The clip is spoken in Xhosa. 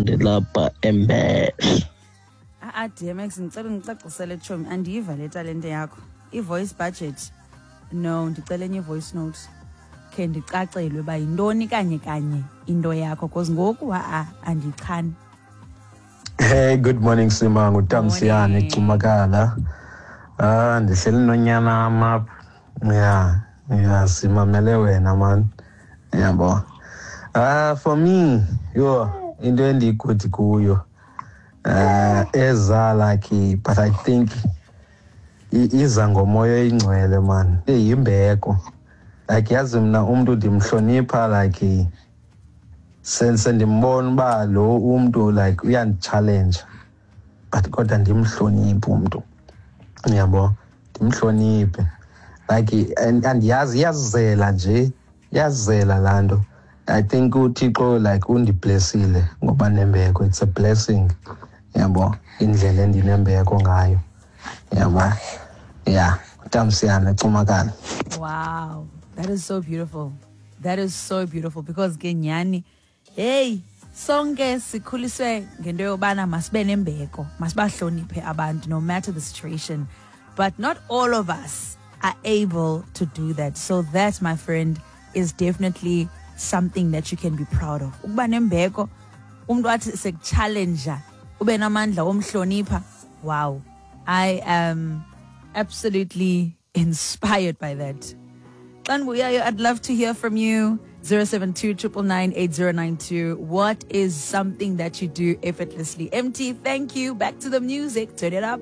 Ndilapha eMbeshe. A-a DMX, ndicela undicacisele, tshomi, andiyiva le talente yakho. I-voice budget, no, ndicela enye i-voice note khe ndicacelwe uba yintoni kanye kanye into yakho, cause ngoku ha-a andiyichani. Hey, good morning Sima, nguTamsiyane. Morning. Cumakala. Ah, ndihleli nonyana wam apha. Yeah, simamele wena man. Yabo. Ah, for me, yo, into endiyi-good kuyo. Eza like, but I think iza ngomoya oyingcwele man. Iyimbeko. Like yazi mna umuntu ndimhlonipha, like sendimbona uba lo umntu like uyandi-challenge, but kodwa ndimhloniphe umntu, uyabo, ndimhloniphe like andiyazi, iyazela nje, iyazela laa nto. I think uThixo like undiblessile ngoba nembeko, it's a blessing, yabo, indlela endinembeko ngayo, yabo. Yeah, uTamsiyana Cumakala. Wow, that is so beautiful. That is so beautiful because ke nyhani, hey, sonke sikhuliswe ngento yobana masibe nembeko, masibahloniphe abantu no matter the situation. But not all of us are able to do that. So that, my friend, is definitely something that you can be proud of. Ukuba nembeko, umuntu athi sekuchallenge, ube namandla omhlonipha. Wow. I am absolutely inspired by that. Xa ndibuyayo, I'd love to hear from you. 072 999 8092. What is something that you do effortlessly? MT, thank you. Back to the music. Turn it up.